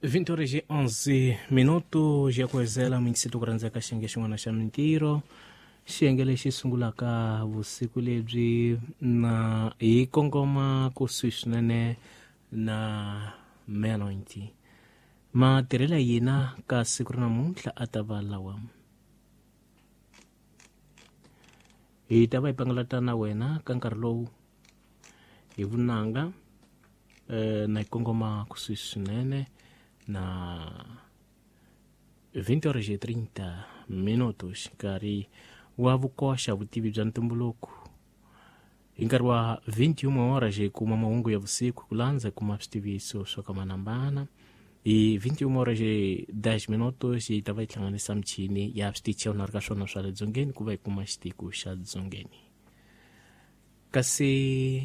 20 horas e 11 minutos ya ku hezela muyingiseti ku rhandzeka xiyenge xin'wana xa mintirho xiyenge lexi sungulaka vusiku lebyi na hi kongoma kusuhi swinene na meya-90 matirhelo ya hina ka siku ra namuntlha a ta va lawa hi ta va hi pangalata na wena ka nkarhi lowu hi vunanga na hi kongoma kusuhi swinene na 20 horas e 30 minutos nkarhi wa vukoxa vutivi bya ntumbuluko hi nkarhi wa 21 horas hi kuma mahungu ya vusiku ku landza hi kuma switiviso swo kamanambana hi 21 horas e 10 minutos hi ta va hi hlanganisa michini ya switichi ya ka swona swa le dzongeni ku va hi kuma xitiko xa dzongeni kasi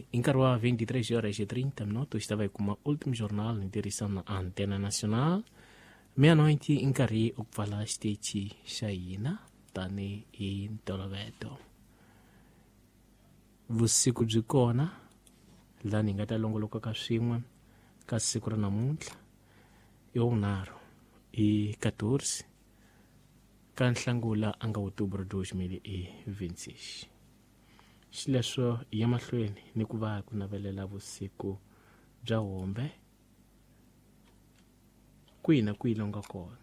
hi nkarhi wa 23 horas e 30 minutos hi ta va hi kuma ultimo jornal ni tirhisana na antena nacional meia-noite i nkarhi wa ku pfala xitichi xa hina tanihi ntolovelo vusiku byi kona lani hi nga ta longoloka ka swin'we ka siku ra namuntlha i wunharhu i 14 ka nhlangula a nga outubro 2026 xileswo hi ya mahlweni ni ku va ku navelela vusiku bya hombe kwihi na kwihi longa kona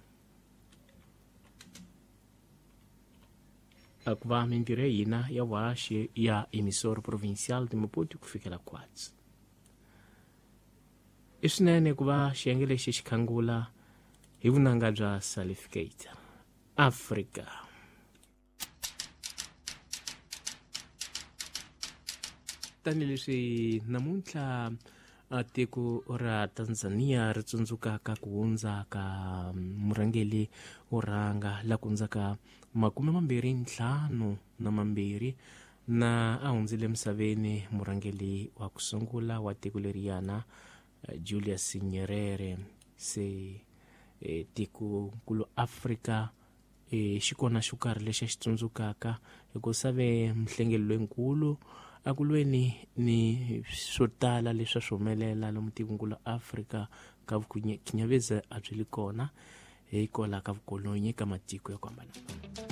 a ku va mintirho ya hina ya vuhaxi ya emissora provincial de Maputo ku fikela kwatsi i swinene ku va xiyenge lexi xi khangula hi vunanga bya salificate Africa tanihileswi namuntlha tiko ra Tanzania ri tsundzukaka ku hundza ka murhangeri wo rhanga la ku hundzaka 25 na a hundzile emisaveni murhangeri wa ku sungula wa tiko leriyana Julius Nyerere se tikonkulu Afrika xi kona xo karhi lexi a xi tsundzukaka hikusa ve muhlengeli loyinkulu a ku lweni ni swo tala leswi a swi humelela lomu tikonkulu Afrika ka vukhinyavezi a byi li kona hikwalaho ka vukolonyi ka matiko ya ku hambanahambana.